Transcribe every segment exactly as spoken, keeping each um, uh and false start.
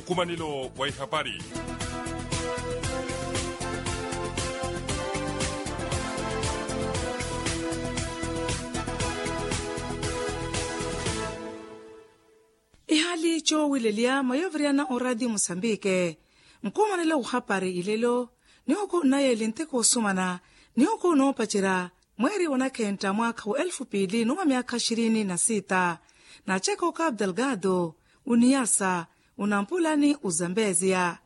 Nkumanelo wa ihapari. Ihaali coowilelya mwa yooviriyana oraatiyo musambike. Nkumanelo wuhapari ilelo nihuku nnayeeli nteko osumana nihuku noopacerya mweeri wa nakhentta mwaakha wa elfu piili n'uwa myaakha xirini na siita. Naaceka okapu delgado uniyasa unampulani uzambeziya.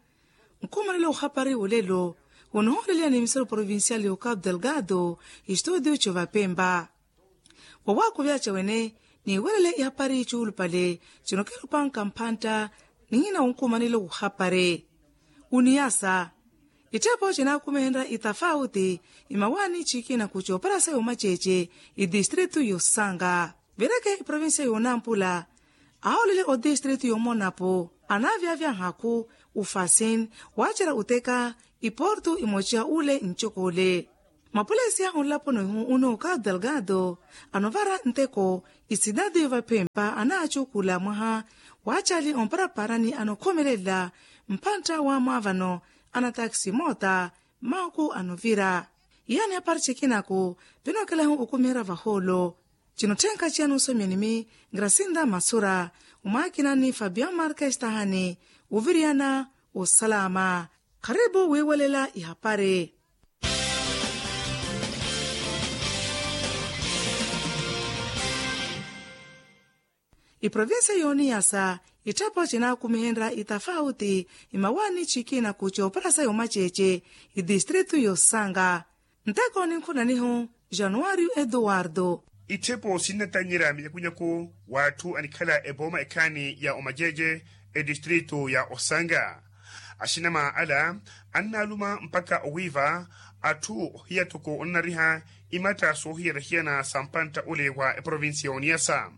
Nkumanelo wuhapari wolelo wunihooleliya ni misaru provincial y'okapu delgado. Istuudiyo c'ovapempa wawakuvyaca wene niiwerele ihapari cuulupale cinokerupanka mphantta. Nihina wunkumanelo wuhapari uniyasa itthepho cinaakumihenrya itafauti imawaani cikina ku cooparasa y'omaceece itistritu y'osanga. Vireke iprovincia y'onampula ahoolele otistritu y'omonapo anaavyavya nhaku ufasin waacerya oteka iportu imoca ule ncokole. Mapulesiya onlaponi ohu unooka delgado anovara nteko isidadi vaphempa anaacukula mwaha waacali omparaparani anokhomelela mphantta wa mwaavano anatakisi moota mmahuku anovira. Iyaani apari cikinaku vinookelahu okumiherya vahoolo. Cinotthenka ciya nuusomiyanimi grasinda masura omwaakina ni fabian markes tahani oviriyana osalama. Kharipu wiiwelela ihapari. Iprovincia y'oniyasa itthapho cinaakumihenrya itafauti imawaani cikina ku cooparasa y'omaceece itistritu y'osanga. Nteko ninkhunanihu januwario eduwardo. Itthepo sinnatanyerya minyakunyaku w'atthu anikhala epooma ekhaani ya omaceece etistritu ya osanga. Axinama ala annaaluma mpakha owiiva atthu ohiya toko onnariha imatta soohiyana-hiyana sa mpantta ole wa eprovincia y'oniyasa.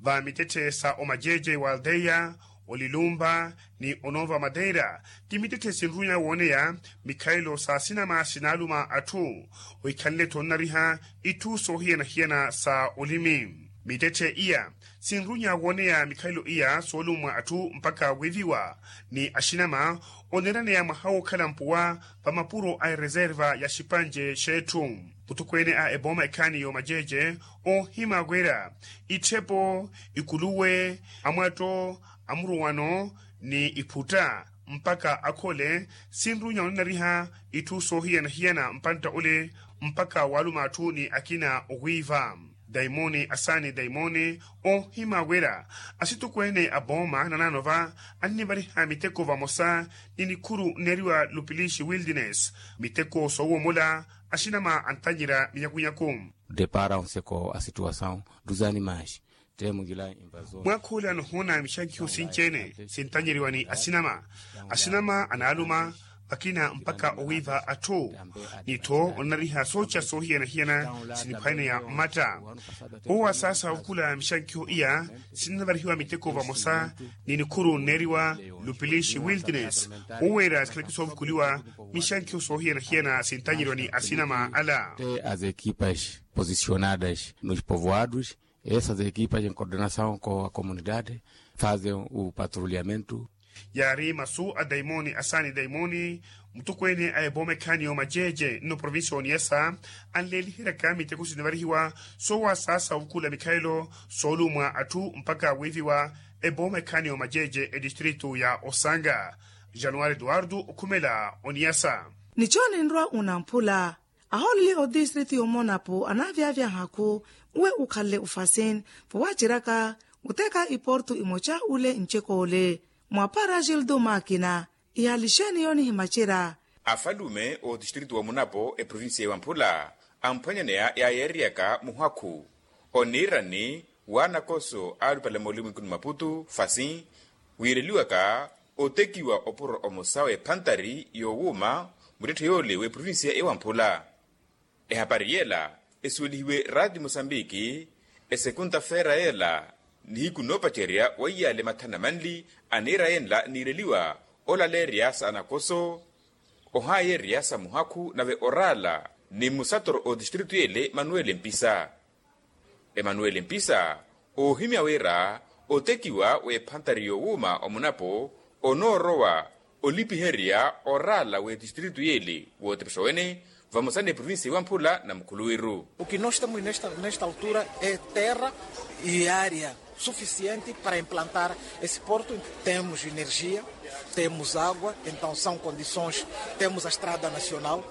Va mitetthe sa omaceece wa aldeia olilumba ni onova madeira ti mitetthe sinrunya wooneya mikhalelo sa sinama sinaaluma atthu ohikhanle-tho onnariha itthu soohiyana-hiyana sa olimi. Mitetthe iya sinrunya wooneya mikhalelo iya soolumwa atthu mpakha wiiviwa ni axinama oneeraneya mwaha wookhala mpuwa va mapuro a ereserva ya xipanje x'etthu. Muthukweene a epooma ekhaani y'omaceece oohimya wira itthepo ikuluwe amwatto amuruwano ni iphutta mpakha akhole sinrunya onanariha itthu soohiyana-hiyana mpantta ole mpakha waaluma atthu ni akina owiiva. Daimoni asaani daimoni oohimya wira asittukweene a pooma nanaano va annivariha miteko vamosa ni nikhuru nneeriwa lupilixi wildiness miteko soowomola. Axinama antanyerya minyakunyaku. Depara onseko a situwasawu duzani maxi. Mwaakhuula nohoona mixankiho sinci-ene sintanyeriwa ni asinama. Asinama anaaluma vakina mpakha owiiva atthu ni-tho onanariha sooca soohiyana-hiyana siniphwaneya mmatta. Owo asaasa ovukula mixankiho iya sinnavarihiwa miteko vamosa ni nikhuru nneeriwa lupilixi wildiness. Oweera sikhaleke soovukuliwa mixankiho soohiyana-hiyana sintanyeriwa ni asinama ala. As equipas posicionadas nos povoados. Essas equipas em coordenação com a comunidade fazem o patrulhamento. Yaari masu a daimoni asaani daimoni mutukweene a epooma ekhaani y'omaceece nno provincia y'oniyasa anleeliheryaka miteko sinivarihiwa soowasaasa ovukula mikhalelo soolummwa atthu mpakha wiiviwa epooma ekhaani y'omaceece etistritu ya osanga. Januwari eduwardo okhumela oniyasa. Ni jooni nrwa unamphula ahooleli otistritu y'omonapo anaavyavya nhaku uwe ukhanle ufasin vo waaceryaka uteka iportu imoca ule ncek'ole. Mwaapara gildo makina ihaali xeeni yoonihimacerya. Afalume otistritu wa munapo eprovincia y'ewamphula amphwanyaneya yaayeeryaka muhakhu oniirani w'anakoso aalupale moolumwikuni maputu fasin wiireliwaka otekiwa opuro omosa w'ephantari yoowuuma muttetthe yoole w'eprovincia y'ewamphula. Ehapari yeela esuwelihiwe raati mosambiki esekunta-feera yeela nihiku noopacerya wa iyaale mathana manli aniira yenla niireliwa olaleerya sa anakoso ohaayeerya sa muhakhu nave oraala ni musatoro otistritu yeele manuwele mpisa. Emanuweli mpisa oohimya wira otekiwa w'ephantari yoowuuma omunapo onoorowa olipiherya oraala w'etistritu y'ele w'otepexo wene vamosa n'eprovincia iwamphula na mukhuluwiru. O que nós temos nesta altura é terra e área suficiente para implantar esse porto. Temos energia, temos água, então são condições. Temos a estrada nacional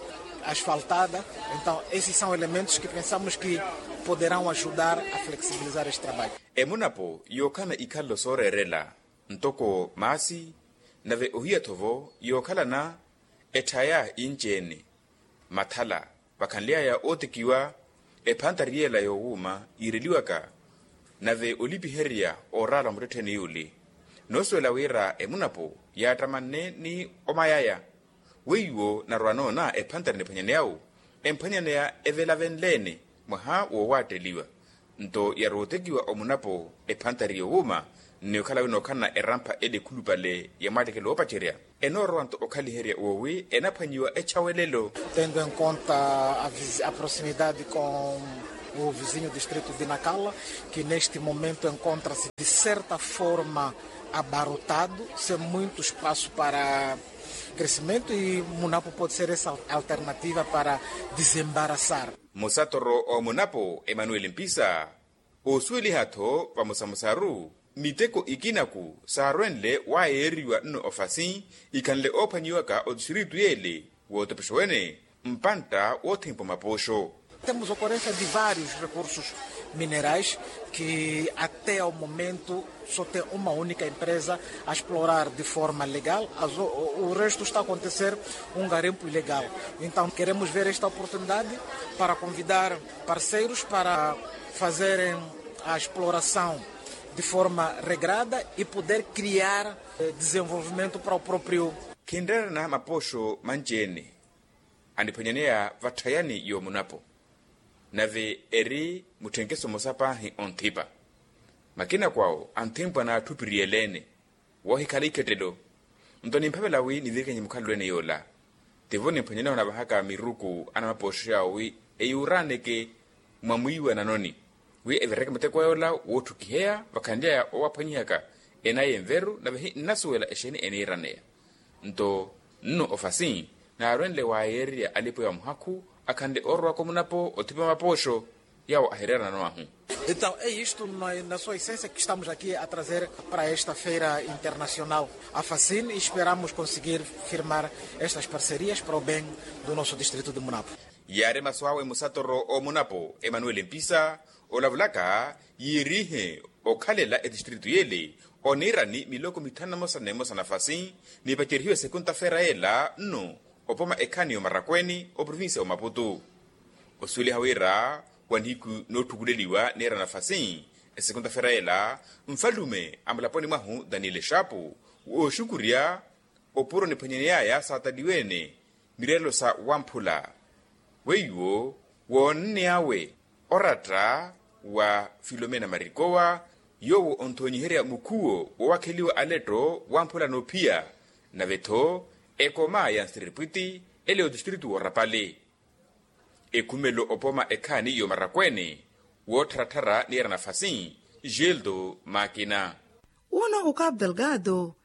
asfaltada. Então esses são elementos que pensamos que poderão ajudar a flexibilizar este trabalho. Emunapo yookhala na ikhalelo sooreerela ntoko maasi, nave ohiya-tho vo yookhalana etthaya inci-ene mathala vakhanly'aya ootekiwa. Ephantari yeela yoowuuma yiireliwaka nave olipiherya ooraala wa muttettheeni yuuli noosuwela wira emunapo yaattamanne ni omayaya weiwo narwa noona ephantari niphwanyaneya-wu emphwanyaneya evelavenle-ene mwaha woowaatteliwa. Nto yarwa otekiwa omunapo ephantari yowuuma nni okhala winookhalana erampha ele ekhulupale ya mwaatteke loopacerya enoorowa nto okhaliherya woowi enaphwanyiwa echawelelo. Tendo em conta a proximidade com o vizinho distrito de nacala, que neste momento encontra-se de certa forma abarrotado, sem muito espaço para crescimento e munapo pode ser essa alternativa para desembaraçar. Musatoro omunapo emanuel mpisa osuweliha-tho vamosamosaru miteko ikinaku saarwenle waayeeriwa nno ofasi ikhanle oophwanyiwaka otistiritu yeele wootepexo wene mpantta woothempa mapoxo. Temos ocorrência de vários recursos minerais que até ao momento só tem uma única empresa a explorar de forma legal. O resto está a acontecer um garimpo ilegal. Então queremos ver esta oportunidade para convidar parceiros para fazerem a exploração de forma regrada e poder criar desenvolvimento para o próprio. Khinreerana mapoxo manci-ene aniphwanyaneya vatthayani yoomunapo nave eri mutthenkeso mmosa paahi onthipa makina kwawo anthempwa n'atthupiriyele-ene woohikhala ikhettelo. Nto nimphavela wi nivirikenye mukhalelo-ene yoola tivo nimphwanyaneya onavahaka miruku anamapoxo yawo wi eyuuraaneke mwa mwiiwa nanoni wi evireke muteko yoola wootthukiheya vakhanly'aya owaphwanyihaka enaya enveru nave hi nnasuwela exeeni eniiraneya. Nto nno ofasi naarwenle waayeererya alipo ya muhakhu akhanle oorowaka omunapo othipa mapoxo yawo ahireerana nwahu. Então é isto na sua essência que estamos aqui a trazer para esta feira internacional afasin e esperamos conseguir firmar estas parcerias para o bem do nosso distrito de munapo. Yaari masu awe musatoro omunapo emanuel mpisa olavulaka yiirihe okhalela etistritu yeele oniirani miloko mithanu na mosa nemosa nafasi nipacerihiwe sekunta feera yeela nno opoma ekhaani y'omarakweeni oprovincia y'omaputu. Osuweliha wira wa nihiku nootthukuleliwa niira nafasi esekunta feera yeela nfalume a mulaponi mwahu daniel exapu wooxukurya opuro niphwanyaneyaya saataliwe-ene mireerelo sa wamphula weiwo woonneyawe oratta wa filomena marikowa yoowo onthoonyiherya mukhuwo woowakheliwa aletto wamphula noophiya nave-tho ekoma ya nsiripwiti ele otistritu woorapale ekhumelo opoma ekhaani y'omarakweene woottharattharya niira nafasi. Gildo makina. Uno ukapu delgado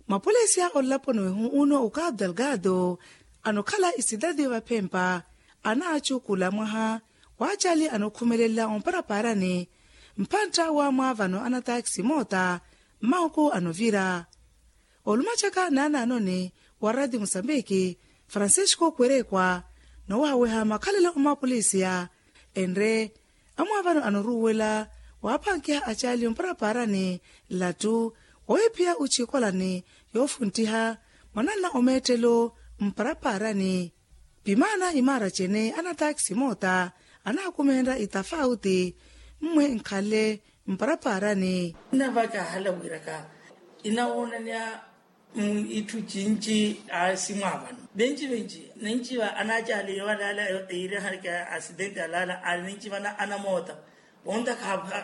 mapolisi a olaponi wehu uno ukapu delgado anokhala isidadi vaphempa anaacukula mwaha waacali anokhumelelela omparapaarani mphantta wa mwaavano anatakisi moota mmahuku anovira olumacaka naanaanoni wa radi musambiki francisco kwerekwa noowahaweha makhalelo omapolisiya enre amwaavano anoruwela waaphankiha acaali mparapaarani llattu woohiphiya ochikolani yoofunttiha mwananna omeettelo mparapaarani pimaana imaara cene anatakisi moota anakumenrya itafauti mmwe nkhalle mparapaarani. Navakahala wiraka inawoonanya itthu cinci aasi mwaavano venci venci ninci va anacaali yowalaala eirihaka asidenti alaala aali ninci vana anamoota vonta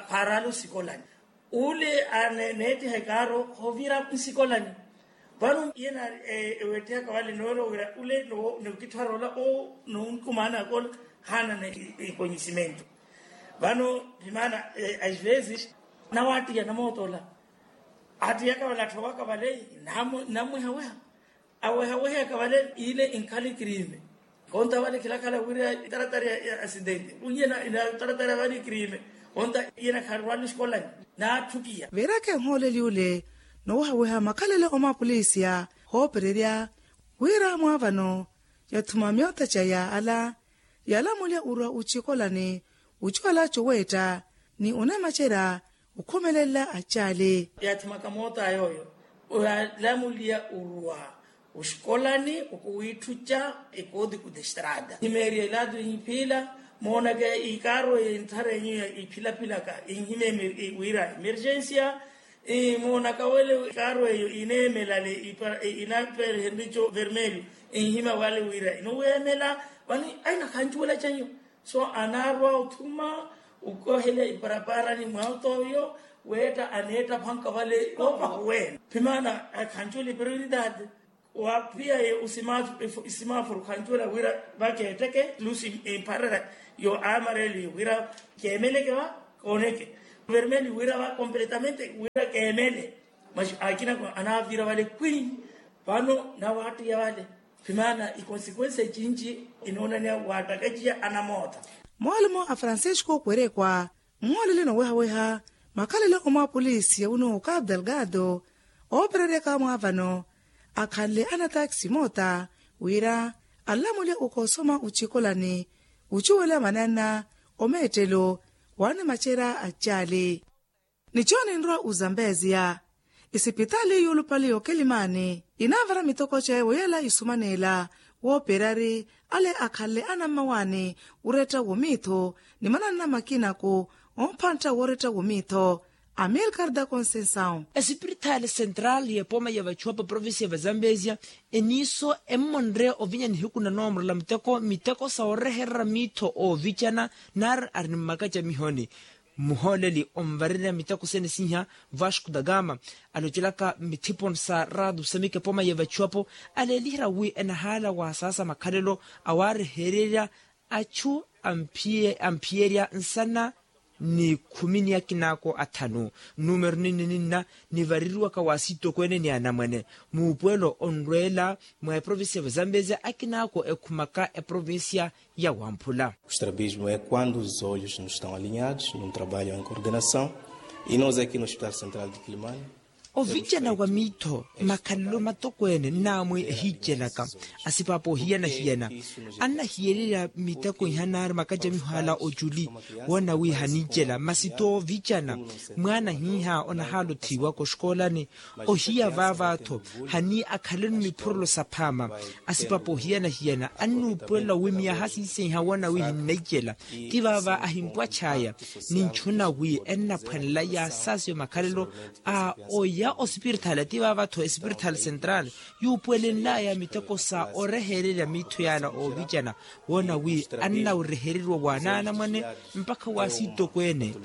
kharaala osikolani ule neettiha ekaaro hoovira nsikolani vano iye ewettihaka vale noorowira ule nookitthwara ola noonkumaanaka ola haanana ekonyisimento vano vimaana as vezes nawattiya namoota ola Attiyaka vale atthowaka vale, namwihawiha awehaweha ekavale ile inkhali crime. Konta vale khilakhala wira itaratari ya asidente unye ina taratari ya vale crime. Konta ina kharwani skolani natthukiya. Veeraka enhooleli ule nowehaweha makhalelo omwapolisiya hoopererya wira mwaavano yathuma myoota ca yaala yalamulya urwa ucikolani ucuwala coweetta ni onemacerya okhumelela acaali. Yaathimaka moota yooyo oyalamulya orwa oxikolani okuwiitthuca ekootiku t'estrada nhimeerya elaatu inhiphila moonaka ikaaro eyo enthara enyu iphilapilaka inhimemeri wira emergensia. Moonaka wele ikaaro eyo ineemelale inaperehenrico vermelho inhima wale wira inoweemela vani aina khancuwela canyu. So anaarwa othuma okohelya iparaparani mwa otoyo weetta aneettaphanka vale. Ovahuwene phimaana akhancuwela iperoridade waphiyaye. Isimafuru khancuwela wira vakeetteke lusi mpharera yo amareli wira keemeleke va kooneke vermeli wira va kompletamente wira keemele. Masi akina anavira vale kwini vano nawattiya vale phimaana ikonsikuensi ecinci inoonaniya wattakaciya anamoota. Mwalumo a francisco kwerekwa mmoolele nowehaweha makhalelo omwapolisi ya uno okapu delgado oopereryaka mwaavano akhanle anataxi moota wira anlamulya okoosoma ucikolani ucuwela manana omeettelo waanimacerya acaali. Nico ninrwa ozambeziya isipitaali yuulupale y'okelimani inaavara mitoko cawe woyela isumaneela wooperari ale akhanle anammawaani oretta womiitho ni mananna makinako omphantta woretta womiitho. Amilcar da conceição. Esipiritaali central y'epooma ya vachuwapo provincia ya vazambesia eniiso emmonre ovinya nihiku na noomorola muteko miteko sa oreherera miitho oovicana nari ari ni mmaka camihoni. Mmuhooleli onvarerya miteko sene siiha vasco da gama alocelaka mithiponi sa rado samike pooma ya vachuwapo aleeliherya wi enahaala waasaasa makhalelo awarehererya achu amphiyerya nsana ni khumi ni akinaako athanu. Numero ninni ninna nivareriwaka wa asitokweene ni anamwane muupuwelo onrweela mwa eprovincia ya vazambezia akinaako ekhumaka eprovincia ya wamphula. Kustrabismo e quando os olhos nos estão alinhados num trabalho em coordenação e nos aqui no hospital central de quilimani. Ovicana wa miitho makhalelo matokweene nnaamwi ehiicelaka asipaapa ohiyana-hiyana annahiyererya miteko iha naari makacamiho ala oculi woona wi haniicela masi toovicana mwaana hiiha onahaala othiiwaka oxikoolani ohiya vaava-tho hani akhaleno miphurelo saphaama. Asipapa ohiyana-hiyana annuupuwelela wi miyaha siisenha woona wi hinnaicela ti vaava ahimpwach'aya ninchuna wi ennaphwanela yaasaasiwe makhalelo a oya osipiritaali ti vaava-tho esipiritaali central yuupuwelenlaya miteko sa orehererya miitho yaala oovicana woona wi annawerehereriwa waanaanamwane mpakha waasitokweene.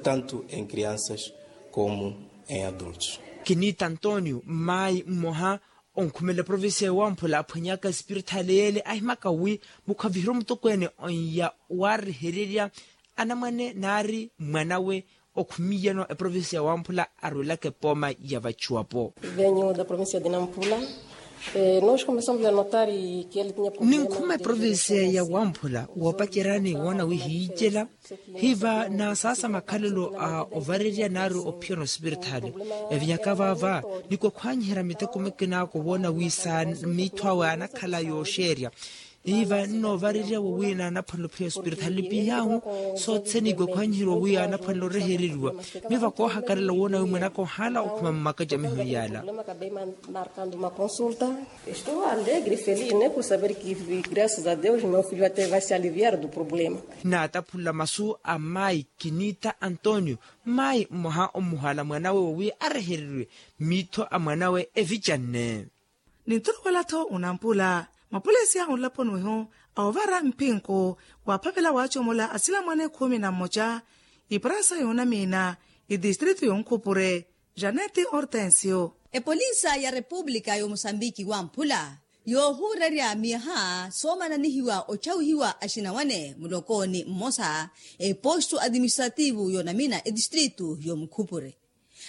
Tanto em crianças como em adultos. Kinita antonio mmayi mmoha onkhumela eprovincia ya wamphula aphwanyaka esipiritaali yeele ahimaka wi mukhavihira omutokweene onya waarehererya anamwane naari mwanawe okhumiyano eprovincia ya wamphula arwelaka epooma ya vachuwapo. Venho da provincia de nampula. Ninkhuma eprovincia ya wamphula woopaceryani woona wi hiicela hiva naasaasa makhalelo a ovarerya nari ophiyana osipiritaali. Evinyaka vaava nikwakhwanyiherya miteko mikinaako woona wi sa miitho awe anakhala yooxeerya hiva nnoovarerya wowi naanaphwanela ophiya osipiritaali nipihaahu sothene nikwakhwanyiherya wowi anaphwanela orehereriwa miyo vakoohakarela woona wi mwanaka ohaala okhuma mmaka camihoni yaala. Marcando uma consulta. Estou alegre e feliz ne por saber que graças a deus meu filho até vai se aliviar do problema. Naataphula masu a mmayi kinita antonio mmayi mmoha omuhaala mwanawe wowi arehereriwe miitho a mwanawe evicanne. Ninturuwela-tho onampula mapolisi a onlaponi wehu a ovara mpinku waaphavela waacomola asilamwane khumi na mmoca iprasa yoonamiina itistritu yonkhupure. Janete hortensio. Epolisa ya repupulika y'omusambiki wamphula yoohuurerya miyaha soomananihiwa ochawihiwa axinawane mulokooni mmosa epostu atiministrativu yoonamina etistritu y'omukhupure.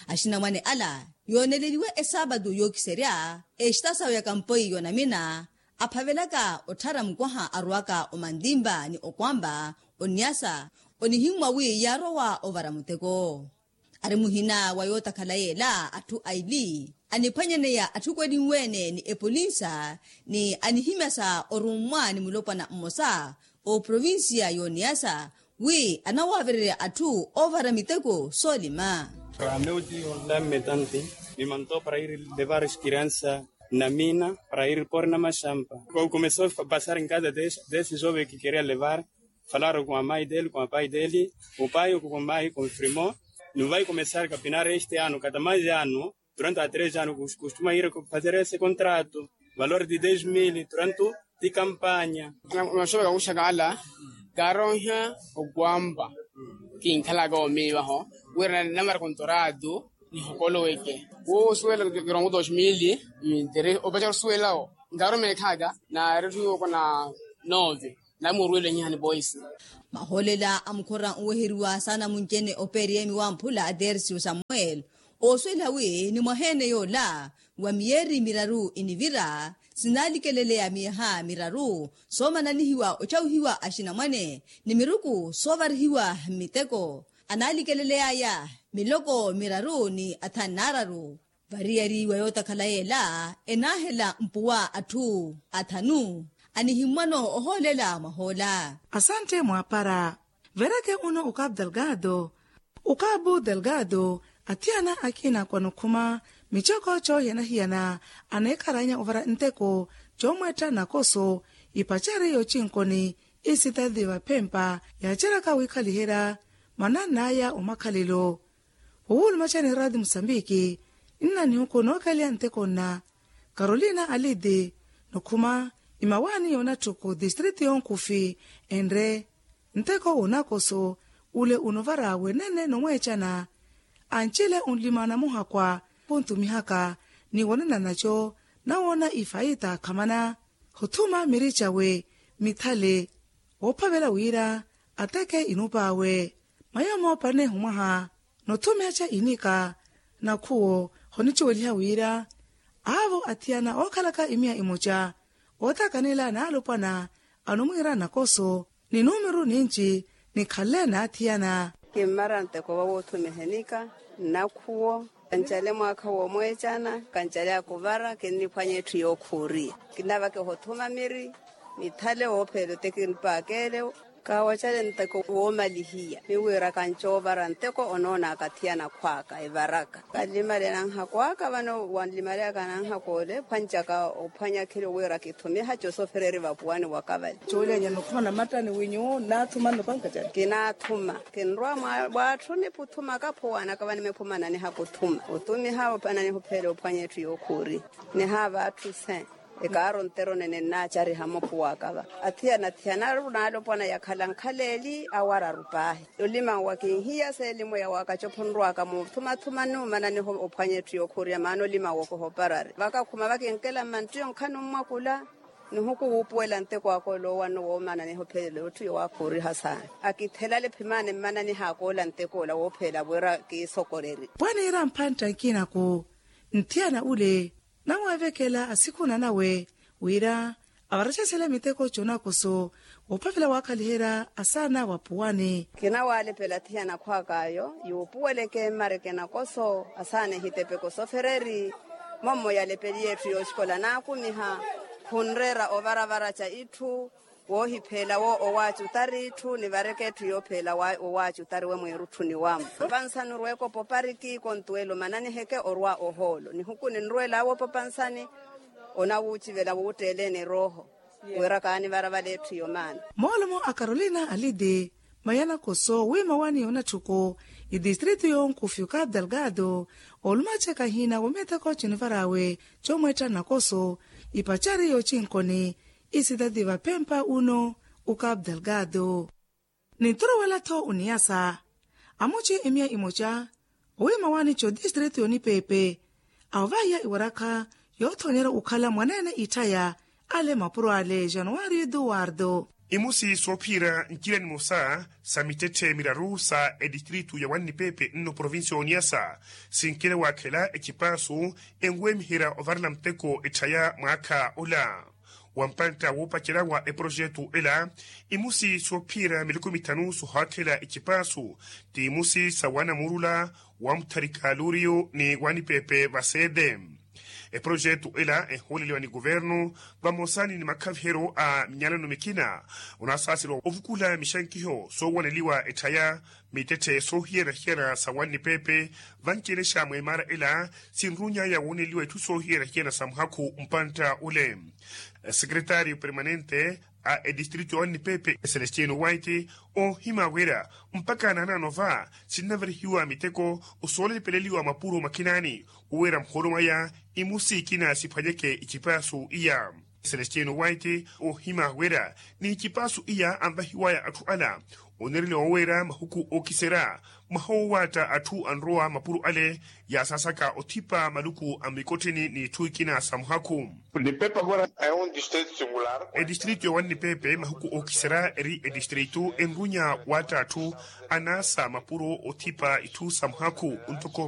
Axinamwane ala yooneleliwe esaapatu yookiserya exita sawe ya kampoyi yoonamina aphavelaka otthara mukwaha arwaka omantimpa ni okwampa oniyasa onihimmwa wi yaarowa ovara muteko. Ari muhina wa yootakhala yeela atthu aili aniphwanyaneya atthu kwelinwe-ene ni epolinsa ni anihimyasa orummwa ni mulopwana mmosa oprovinsiya y'oniyasa wi anawaavererya atthu oovara miteko soolima. Para meu tio dame tanti me mandou para ir levar as crianças na mina para ir pôr na machamba. Como começou a passar em casa desse, desse jovem que queria levar, falaram com a mãe dele, com a pai dele, o pai ou com a mãe confirmou, não vai começar a capinar este ano, cada mais ano, durante há três anos costuma ir fazer esse contrato, valor de dez mil durante de campaña. Maxoveka kuxaka ala kaaronha okwampa kinkhalaka omiivaho wira namara kontoratu nihokoloweke wosuwela kirongo dos mil. Opachaka osuwelawo nkaaruma ekhaka na retthu yooko na nove. Namuruwela nyihani boisi. Mahoolela a mukhora nweheriwa saana munci-ene opeeriyemi wamphula a tercio samuel oosuwela wi ni mwaha-ene yoola wa miyeeri miraru inivira sinalikeleleya miyaha miraru soomananihiwa ocawuhiwa axinamwane ni miruku soovarihiwa mmiteko analikeleleyaya miloko miraru ni athanu naararu. Variyari wa yootakhala yeela enaahela mpuwa atthu athanu anihimmwano ohoolela mwahoola. Asantte mwaapara. Vereke uno ukapu delgado ukapu delgado athiyana akina kwanokhuma michoko choohiyana-hiyana aneekharanya ovara nteko choomwetta nakoso ipachari yochinkoni isitati vaphempa yaacheryaka wiikhaliherya mwanann'aya omakhalelo. Wowulumacani radi musambiki nna nihuku nookaliya nteko nna karolina alidi nokhuma imawaani yoonatthuku distritu yonkhufi enre nteko woonakoso ule unovara wenene nomweecana. Ancile onlimana muhakwa khuntumihaka ni wonananaco nawoona ifaita khamana hothuma miricawe mithale woophavela wira ateke inupa awe mayo moopanne humwaha nothumiha ca inika nakhuwo honicuweliha wira aavo athiyana ookhalaka imiya imoca ootakanela n'alopwana anumwiira nakoso ni numeru ninci nikhanle n'athiyana. Kimmara nteko va woothumiha enika nnakhuwo kancale mwaakha woomweecana kancale akuvara kinniphwanya etthu yookhuuriya kinnavaka ehothuma miri mithale woopheela otekinipaakeele. Kaawacale nteko woomalihiya miwira kancoovara nteko onoonaka athiyana akhwaaka evaraka kanlimale nanhako aka vano wanlimaleyaka nanhako ole phwanchaka ophwanya khilo wira kithumiha cosofereri vapuwani waka vale. Coolenya nokhuma namattani winyuwo naathuma nnopanka cani kinaathuma kinrwa mwaatthuni puthumaka phuwanaka vani miphuma nanihaka othuma othumiha ananihupheela ophwanya etthu yookhuuri nihaava atthu se ekaaro ntero nene nnaacariha mophuwaka va athiyana athiyana aru naalopwana yakhala nkhaleli awo araru paahi olimanwa kinhiya seelimweya waka cophonrwaka muuthumathuma nnuumananiho ophwanya etthu yookhuuriya maana olimanwa okohoparari vakakhuma vakinkela mmanttiyo nkhanummwakula nihuku wuupuwela nteko aka oloowa nno woomananiho phelela otthu yowaakhuuriha saana akithelale phimani mmananiha akoola nteko ola woopheela wira kiisokoreri. Pwaneera mphantta nkinaku nthiyana ule nawaavekela asikhuna nawe wira avaracesele miteko conakoso woophavela waakhaliherya asaana wapuwani. Kinawalepela athiyana akhwaak'ayo yuupuweleke mmareke nakoso asaana ehitepeko sofereri mommo yalepeliye etthu yooxikola naakumiha khunreera ovaravara ca itthu woohipheela wo owaacutari itthu nivareke etthu yoopheela owaacutari we mwiirutthuni wamo opansanuru ekopo pariki kontuwelo mananiheke orwa ohoolo nihuku ninrwelaawe opapansani onawuucivela wuutteeleni erooho wira kaanivara vale etthu yomaana. Moolomo a carolina alidi mayana koso wiima waani yoonatthuku itistritu yoonkufi okapu delgado olumaceka hina womiiteko cinivaraawe comwetta nakoso ipacari yoochinkoni isitati vaphempa uno okapu delgado ninturuwela-tho oniyasa amuci imiya imoca owiima waani cotistritu yonipeepe awo vahiya iwarakha yoothonyerya okhala mwaneene itthaya ale mapuro ale januwari eduwardo. Imusi soophiira ncila nimosa sa mittetthe miraru sa etistritu ya wannipepe nno provincia oniyasa sinkile waakhela ecipaasu enweemiherya ovarela muteko etthaya mwaakha ola. Wa mpantta woopacerya wa eprojetu ela imusi soophiira miluku mithanu sohaakhela ecipaasu ti imusi sa wanamuurula wa mutharika luriyu ni wanipepe vaseede. Eprojetu ela ehooleliwa ni kuvernu vamosa ni makhaviheryo a minyalano mikina onasaaseriwa ovukula mixankiho soowaneliwa etthaya mittetthe soohiyana-hiyana sa wannipepe. Vanci-ene xa mweemara ela sinruny'aya wooneliwa itthu soohiyana-hiyana sa muhakhu mpantta ole. Sekretaariyo permanente a etistritu ya wannipepe celestino waiti oohima wira mpakha naanaano va sinnavarihiwa miteko osoolepeleliwa mapuro makhinani wira muhoolo mwaya imusi ikina siphwanyeke icipaasu iya. Celestino waiti oohima wira ni icipaasu iya anvahiwaya atthu ala oneereliwa wira mahuku ookiserya mwaha wowaatta atthu anrowa mapuro ale yaasaasaka othipa maluku a mmikottheni n'itthu ikina sa muhakhu. Etistritu ya wannipepe mahuku ookiserya eri etistritu enrunya waatta atthu anaasa mapuro othipa itthu sa muhakhu ntoko